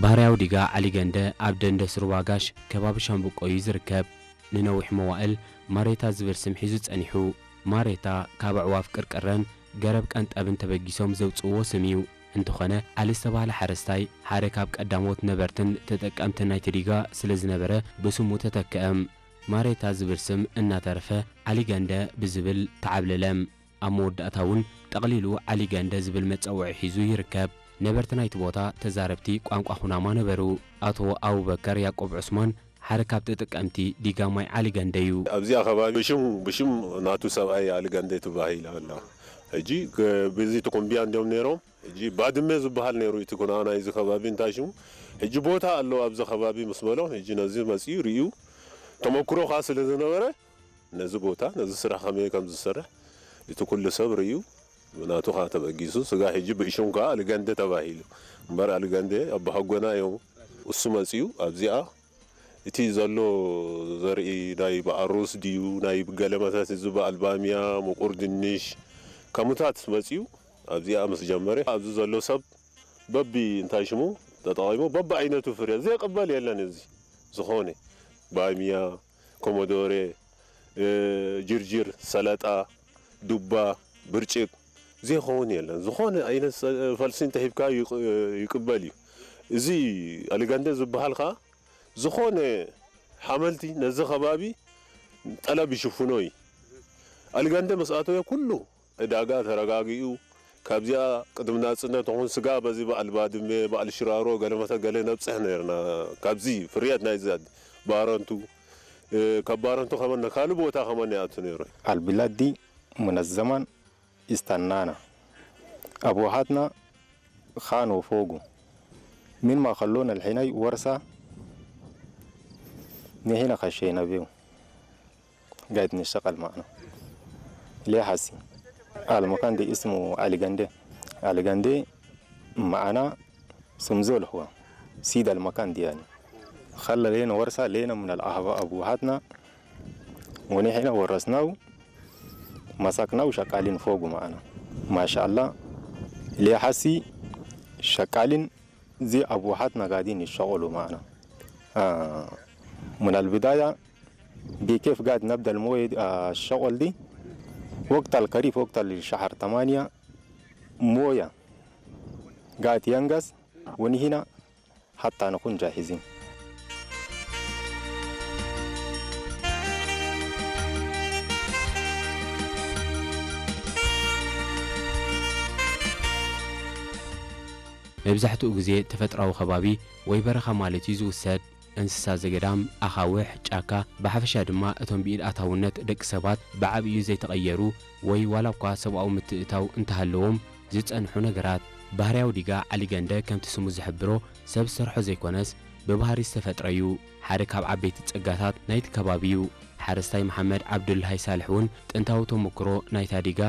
ባህርያዊ ዲጋ ዓሊገንደ ኣብ ደንደስ ሩባ ጋሽ ከባቢ ሻምብቆ እዩ ዝርከብ። ንነዊሕ መዋእል ማሬታ ዝብል ስም ሒዙ ጸኒሑ። ማሬታ ካብ ኣዕዋፍ ቅርቅረን ገረብ ቀንጠብን ተበጊሶም ዘውጽእዎ ስም እዩ። እንተኾነ፣ ዓሊ ዝተባህለ ሓረስታይ ሓደ ካብ ቀዳሞት ነበርትን ተጠቀምትን ናይቲ ዲጋ ስለ ዝነበረ ብስሙ ተተክአ። ማሬታ ዝብል ስም እናተረፈ ዓሊገንደ ብዝብል ተዓብለለ። ኣብ መወዳእታ እውን ጠቕሊሉ ዓሊገንደ ዝብል መጸውዒ ሒዙ ይርከብ። ነበርቲ ናይቲ ቦታ ተዛረብቲ ቋንቋ ኩናማ ነበሩ። ኣቶ ኣቡበከር ያዕቆብ ዑስማን ሓደ ካብ ተጠቀምቲ ዲጋ ማይ ዓሊገንደ እዩ። ኣብዚኣ ከባቢ ብሽም፣ ብሽም ናቱ ሰብኣይ ኣሊጋንደ ትባሂል ኣላ። ሕጂ ከ-፣ በዚ ትኩምቢያ እንዲዮም ነይሮም። ሕጂ ባድመ ዝበሃል ነይሩ እቲ ኩና ናይዚ ከባቢ እንታይ ሽሙ። ሕጂ ቦታ ኣሎ ኣብዚ ከባቢ ምስ በሎም፣ ሕጂ ነዚ መፂኡ ርእዩ ተመክሮ ከዓ ስለ ዝነበረ ነዚ ቦታ ነዚ ስራሕ ከመይ ከም ዝሰርሕ እቲ ኩሉ ሰብ ርእዩ ናቱ ከዓ ተበጊሱ ስጋ ሕጂ ብእሹም ከዓ ኣሊጋንደ ተባሂሉ። እምበር ኣሊጋንደ ኣባሃጎና እዮም። እሱ መፂኡ ኣብዚኣ እቲ ዘሎ ዘርኢ ናይ በኣሩስ ድዩ ናይ ገለመታት እዚ በኣል ባምያ፣ ምቁር ድንሽ ከምኡታት መፂኡ ኣብዚኣ ምስ ጀመረ ኣብዚ ዘሎ ሰብ በቢ እንታይ ሽሙ ተጠቒሙ በቢ ዓይነቱ ፍርያት ዘይቅበል የለን። እዚ ዝኾነ ባምያ፣ ኮሞዶሬ፣ እ፣ ጅርጅር፣ ሰለጣ፣ ዱባ፣ ብርጭቅ ዘይኸውን የለን። ዝኾነ ዓይነት ሰ-፣ ፈልሲ እንተሂብካ ይቅ-፣ ይቅበል እዩ። እዚ ኣሊጋንደ ዝበሃል ከዓ ዝኾነ ሓመልቲ ነዚ ከባቢ ጠለብ ይሽፍኖ እዩ። ኣሊጋንደ ምስ ኣተወ ኩሉ ዕዳጋ ተረጋጊኡ፣ ካብዚኣ ቅድሚ ናጽነት ኹን ስጋ በዚ በዓል ባድመ፣ በዓል ሽራሮ፣ ገለመተ ገለ ነብጽሕ ነርና። ካብዚ ፍርያት ናይዚ ባረንቱ፣ እ፣ ካብ ባረንቱ ከመን ካልእ ቦታ ከመን ይኣቱ ነይሩ። البلاد دي من الزمن استنانا. أبوهاتنا خانوا فوقه. من ما خلونا الحين ورثة، نحن خشينا بيه. قاعد نشتغل معنا. ليه حسي؟ المكان ده اسمه علي قندي. علي قندي معنا سمزول هو. سيد المكان دي يعني. خلى لنا ورثة لنا من الأهب-، أبوهاتنا. ونحن ورثناه، مسكناه وشغالين فوقه معنا. ما شاء الله. ليه حسي شغالين زي أبوهاتنا قاعدين يشتغلوا معنا. آه، من البداية بكيف قاعد نبدأ الموية دي، آه، الشغل دي؟ وقت الخريف، وقت الشهر تمانية، موية قاعد ينقص، ونحن حتى نكون جاهزين. መብዛሕትኡ ግዜ ተፈጥሮኣዊ ከባቢ ወይ በረኻ ማለት እዩ ዝውሰድ። እንስሳ ዘገዳም፣ ኣኻውሕ፣ ጫካ፣ ብሓፈሻ ድማ እቶም ብኢድ ኣታውነት ደቂ ሰባት ብዓብዩ ዘይተቐየሩ ወይ ዋላ እኳ ሰብኣዊ ምትእታው እንተሃለዎም ዝጸንሑ ነገራት። ባህርያዊ ዲጋ ዓሊገንደ ከምቲ ስሙ ዝሕብሮ ሰብ ዝሰርሖ ዘይኮነስ ብባህሪ ዝተፈጥረ እዩ። ሓደ ካብ ዓበይቲ ጸጋታት ናይቲ ከባቢ እዩ። ሓረስታይ መሓመድ ዓብዱልሃይ ሳልሕ እውን ጥንታዊ ተመክሮ ናይታ ዲጋ